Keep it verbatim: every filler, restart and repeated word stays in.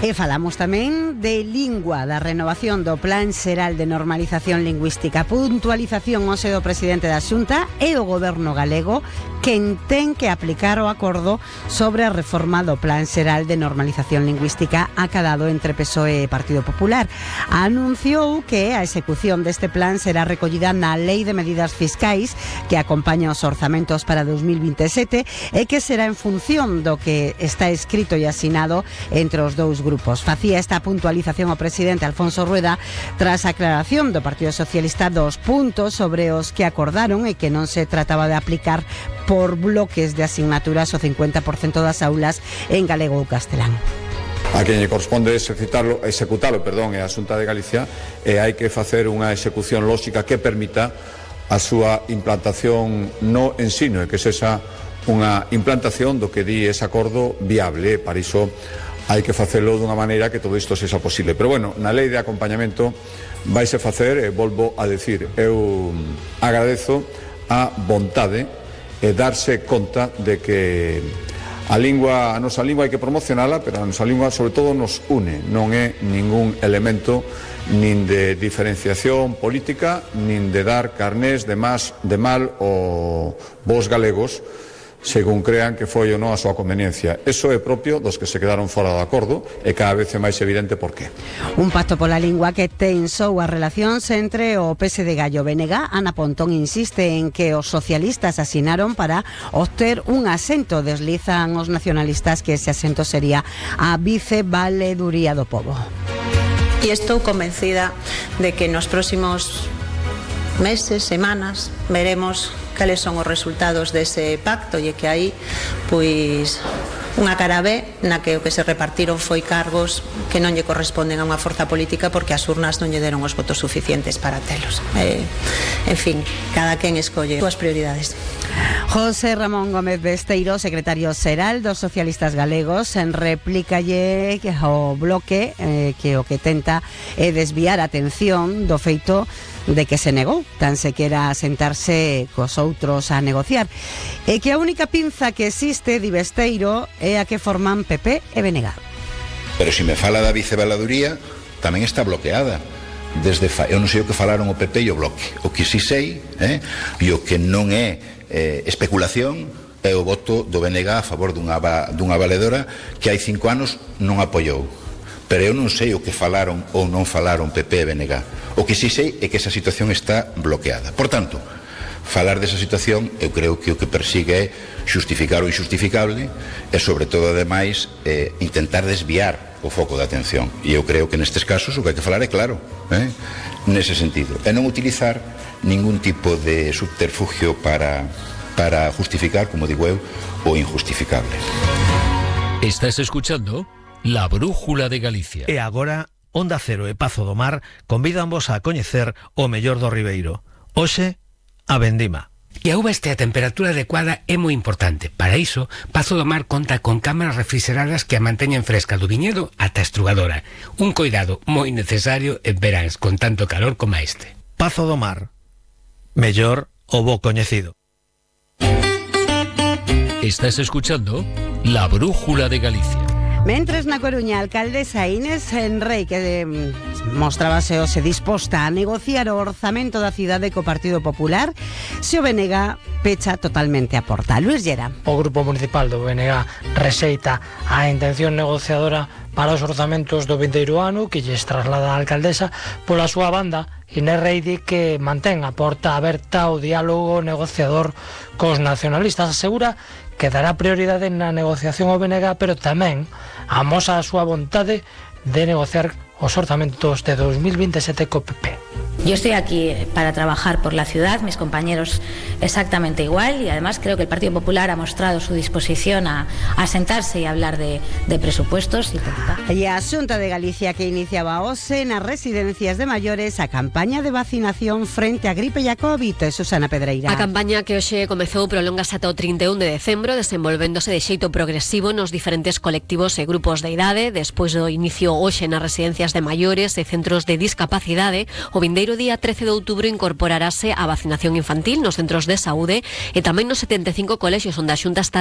E falamos tamén de lingua, da renovación do Plan Xeral de Normalización Lingüística, puntualización hoxe do presidente da Xunta e o goberno galego quen ten que aplicar o acordo sobre a reforma do Plan Xeral de Normalización Lingüística acadado entre P S O E e Partido Popular. Anunciou que a execución deste plan será recollida na Lei de Medidas Fiscais que acompaña os orzamentos para dos mil vinte e sete e que será en función do que está escrito e asinado entre os dous grupos. Facía esta puntualización o presidente Alfonso Rueda tras a aclaración do Partido Socialista dos puntos sobre os que acordaron e que non se trataba de aplicar por bloques de asignaturas o cincuenta por cento das aulas en galego ou castelán. A quen lle corresponde executalo, executalo perdón, é a Xunta de Galicia, e hai que facer unha execución lóxica que permita a súa implantación no ensino e que sexa unha implantación do que di ese acordo viable. Para iso hai que facelo dunha maneira que todo isto sexa posible. Pero bueno, na lei de acompañamento vaise facer, e volvo a decir, eu agradezo a vontade e darse conta de que a lingua, a nosa lingua hai que promocionala, pero a nosa lingua sobre todo nos une, non é ningún elemento nin de diferenciación política, nin de dar carnés de más, de mal ou vos galegos, según crean que foi ou non a súa conveniencia. Eso é propio dos que se quedaron fora do acordo e cada vez é máis evidente por qué. Un pacto pola lingua que tensou as relacións entre o P S D e o B N G. Ana Pontón insiste en que os socialistas asinaron para obter un asento. Deslizan os nacionalistas que ese asento sería a vicevaleduría do pobo. E estou convencida de que nos próximos meses, semanas, veremos cales son os resultados dese pacto e que aí, pois, unha cara B na que o que se repartiron foi cargos que non lle corresponden a unha forza política porque as urnas non lle deron os votos suficientes para telos. Eh, en fin, cada quen escolle as súas prioridades. José Ramón Gómez Besteiro, secretario xeral dos socialistas galegos, en réplicalle ao bloque eh, que o que tenta é desviar a atención do feito de que se negou tan sequera a sentarse cos outros a negociar e que a única pinza que existe, di Besteiro, é a que forman P P e B N G. Pero se me fala da vicevaladuría tamén está bloqueada desde fa... eu non sei o que falaron o P P e o bloque, o que si sei eh? e o que non é eh, especulación é o voto do B N G a favor dunha, dunha valedora que hai cinco anos non apoiou. Pero eu non sei o que falaron ou non falaron P P e B N G. O que si sei é que esa situación está bloqueada. Por tanto, falar desa situación eu creo que o que persigue é xustificar o injustificable e, sobre todo, ademais, eh, intentar desviar o foco de atención. E eu creo que nestes casos o que hai que falar é claro, eh? nese sentido. E non utilizar ningún tipo de subterfugio para, para justificar, como digo eu, o injustificable. Estás escuchando La Brújula de Galicia. E agora, Onda Cero e Pazo do Mar convídanvos a coñecer o mellor do Ribeiro. Hoxe, a vendima. E a uva este a temperatura adecuada é moi importante. Para iso, Pazo do Mar conta con cámaras refrigeradas que a manteñen fresca do viñedo ata a estrugadora. Un coidado moi necesario en veráns con tanto calor como este. Pazo do Mar. Mellor o bo coñecido. Estás escuchando La Brújula de Galicia. Mentres na Coruña, a alcaldesa Inés Enrei, que eh, mostrábase hoxe disposta a negociar o orzamento da cidade co Partido Popular, se o B N G pecha totalmente a porta. Luis Llera. O Grupo Municipal do B N G rexeita a intención negociadora para os orzamentos do vindeiro ano que lles traslada a alcaldesa. Pola súa banda, Inés Rei di que mantén a porta aberta ao diálogo negociador cos nacionalistas. Asegura que dará prioridade na negociación ao B N G, pero tamén amosa a súa vontade de negociar os orzamentos de dos mil vinte e sete co P P. Yo estoy aquí para trabajar por la ciudad, mis compañeros exactamente igual, y además creo que el Partido Popular ha mostrado su disposición a, a sentarse y a hablar de, de presupuestos. E a Xunta de Galicia que iniciaba hoxe nas residencias de maiores a campaña de vacinación frente á gripe e a COVID. Susana Pedreira. A campaña que hoxe comezou prolongase ata o trinta e un de decembro, desenvolvéndose de xeito progresivo nos diferentes colectivos e grupos de idade. Despois do inicio hoxe nas residencias de maiores e centros de discapacidade, o vindeiro día trece de outubro incorporarase a vacinación infantil nos centros de saúde e tamén nos setenta e cinco colexios onde a Xunta está